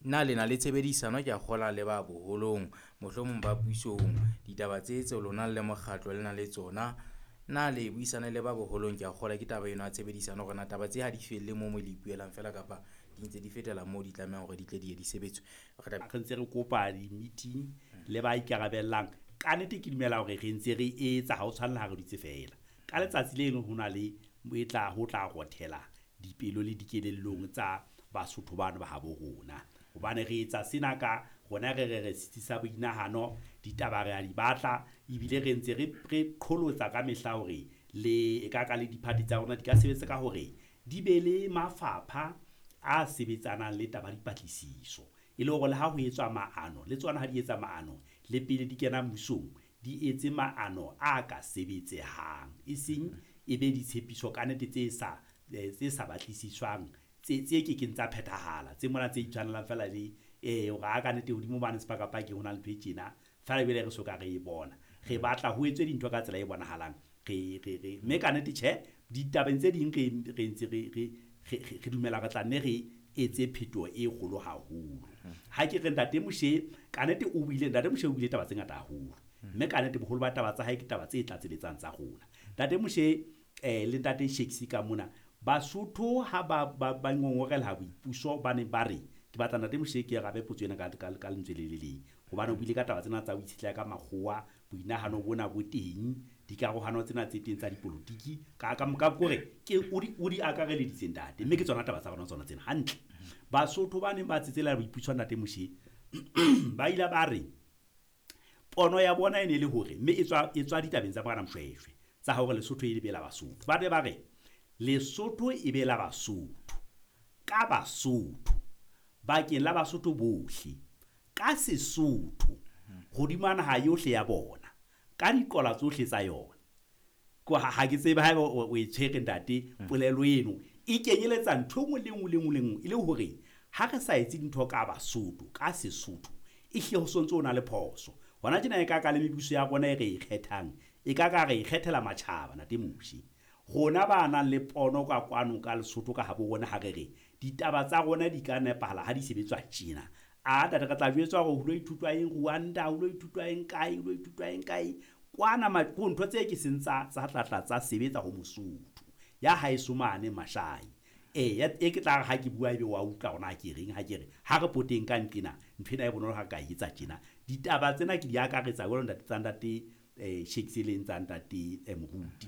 Na le na le tshebedisano, ke a kgola, le ba boholong, mohlomong ba pusong, ditaba tse tseo lona le mokgatlo le na le tsona? Na le buisane le ba boholong? Ke a kgola ke taba eno ya tshebedisano hore na taba tse ha di felle moo mo le ipuelang feela kapa di ntse di fetela moo di tlamehang hore di tle di ye di sebetswe. Re tla Re ntse re kopa di-meeting le ba ikarabellang. Kannete ke dumela hore re ntse re etsa, ha o tshwanela ha re dutse fela. Ka letsatsi le leng ho na le e tla ho tla rothela dipelo le dikelellong tsa Basotho bano ba habo rona. Hobane re etsa sena ka rona, re re re setsi sa boinahano, ditaba re a di batla, ebile re ntse re qholotsa ka mehla hore le e ka ka le di-party tsa rona di ka sebetsa ka hore di be le mafapha a sebetsanang le taba ya dipatlisiso. E le hore le ha ho etswa maano, le tsona ha di etsa maano, le pele di kena mmusong, di etse maano a ka sebetsehang. E seng e be ditshepiso kannete tse sa batlisiswang, tse kekeng tsa phethahala, tse mona tse itshwanelang fela le hore a kannete hodimo mane sepakapakeng ho na le ntho e tjena, feela ebile re soka re e bona. Re batla ho etswe dintho ka tsela e bonahalang. Re mme kannete tjhe, ditabeng tse ding re ntse re dumela re tla nne re etse phetoho e kgolo haholo. Ha ke re Ntate Moshe, kannete o buile, Ntate Moshe o buile taba tse ngata haholo. Mme kannete boholo ba taba tsa hae ke taba tse tlatseletsang tsa rona. Ntate Moshe le Ntate Shakes ka mona, Basotho ha ba ngongorela boipuso, ba ne ba re, ke batla Ntate Moshe ke arabe potso ena ka lentswe le le leng. Hobane o buile ka taba tsena tsa ho itshetleha ka makgowa, boinahano bona bo teng, dikarohano tsena tse teng tsa dipolotiki, ka kore ke o di akareleditse, ntate, mme ke tsona taba tsa rona tsona tsena hantle. Basotho ba neng ba tsetsela boipuso, Ntate Moshe, ba ile ba re pono ya bona e ne le hore, mme e tswa ditabeng tsa Morena Moshoeshoe tsa hore Lesotho e be la Basotho. Ba ne ba re Lesotho e be la Basotho, ka Basotho, bakeng la Basotho bohle, ka Sesotho, hodima naha yohle ya bona, ka diqola tsohle tsa yona. Ko ha ke tsebe haeba o e tshwere, ntate. Polelo eno e kenyeletsa ntho e nngwe le nngwe le nngwe le nngwe, e le hore ha re sa etse dintho ka Basotho, ka Sesotho, e hlile ho sontso o na le phoso. Hona tjena e ka ka le mebuso ya rona e re e kgethang, e ka ka re e kgethela matjhaba, Ntate Moshe. Rona ba nang le pono ka kwano ka Lesotho ka habo rona, ha re re ditaba tsa rona di ka nepahala ha di sebetswa tjena, a ntate, re tla jwetswa hore ho lo ithutwa eng Rwanda, ho lo ithutwa eng kae, ho lo ithutwa eng kae kwana. Ko ntho tse ke seng tsa tlatla tsa sebetsa ho Mosotho ya haeso mane Mashai. E ke tla re ha ke bua ebe wa utlwa hore na ke reng. Ha ke re ha re poteng ka nqena, ntho ena e bonolo ha re ka e etsa tjena. Ditaba tsena ke di akaretsa jwalo, ntate, tsa Ntate Shakes, e leng tsa Ntate Moruti.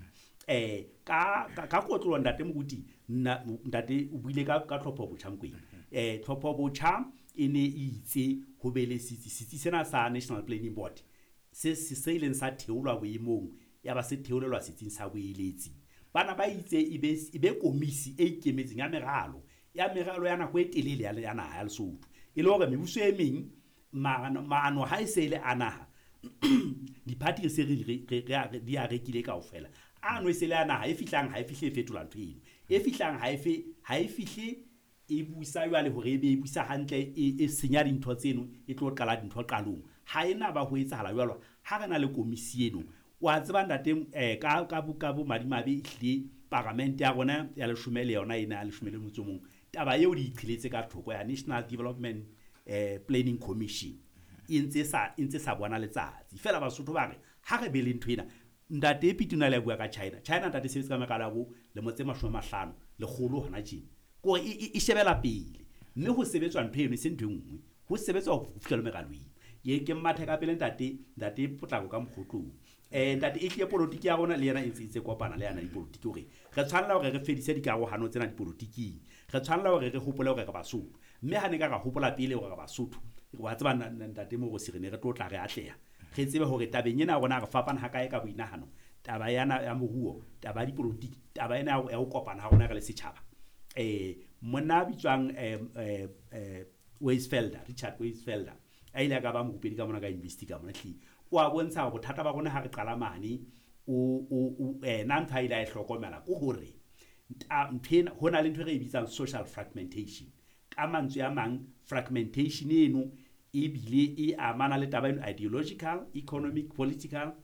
Ka kotlolo, Ntate Moruti, nna ntate o buile ka tlhopho botjha Mokwena. Tlhopho botjha e ne e itse ho be le setsi sena sa National Planning Board se ileng sa theolwa boemong, ya ba se theolelwa setsing sa boeletsi. Bana ba itse e be komisi e ikemetseng ya meralo ya nako e telele ya naha ya Lesotho, e le hore mebuso e meng maano ha e se e le a naha, di-party re se re di a rekile kaofela. Ano e se le a naha e fihlang, ha e fihle e fetola ntho eno e fihlang, ha e fihle e busa jwale hore e be e busa hantle, e senya dintho tseno, e tlo qala dintho qalong. Ha e na ba ho etsahala jwalo ha re na le komisi eno. Wa tseba, ntate, ka bomadimabe, ehlile paramente ya rona ya leshome le yona ena ya 11, taba eo di iqheletse ka thoko ya National Development Planning Commission, e ntse sa bona letsatsi feela. Basotho ba re ha re be le ntho ena. Ntate Piti o na le a bua ka China. China, ntate, sebetse ka meralo ya bo lemo tse 50, 100 hona tjena, kore e shebela pele, mme ho sebetswa ntho eno, e se ntho e nngwe, ho sebetswa ho fihlela meralo eno. Ke mmathe ka pele, ntate Potlako ka mokgotlong. Ntate, e hlile polotiki ya rona le yena e ntse kopana le yana dipolotiki, hore re tshwanela hore re fedise dikarohano tsena dipolotiking. Re tshwanela hore re hopole hore re Basotho, mme ha ne ka ra hopola pele hore re Basotho, wa tseba, Ntate Morosi, re ne re tlo tla re atleha. Re tsebe hore tabeng ena ya rona re fapana hakae ka boinahano, taba yana ya moruo, taba ya dipolotiki, taba ena ya ho kopana ha rona re le setjhaba. Monna a bitswang Weisfelder, Richard Weisfelder, a ile a ka ba morupedi ka mona ka university ka mona, hlile o a bontsha hore bothata ba rona ha re qala mane o ena ntho a ile a e hlokomela ke hore ntho ena, ho na le ntho e re e bitsang social fragmentation. Ka mantswe a mang, fragmentation eno ebile e amana le taba eno, ideological, economic, political.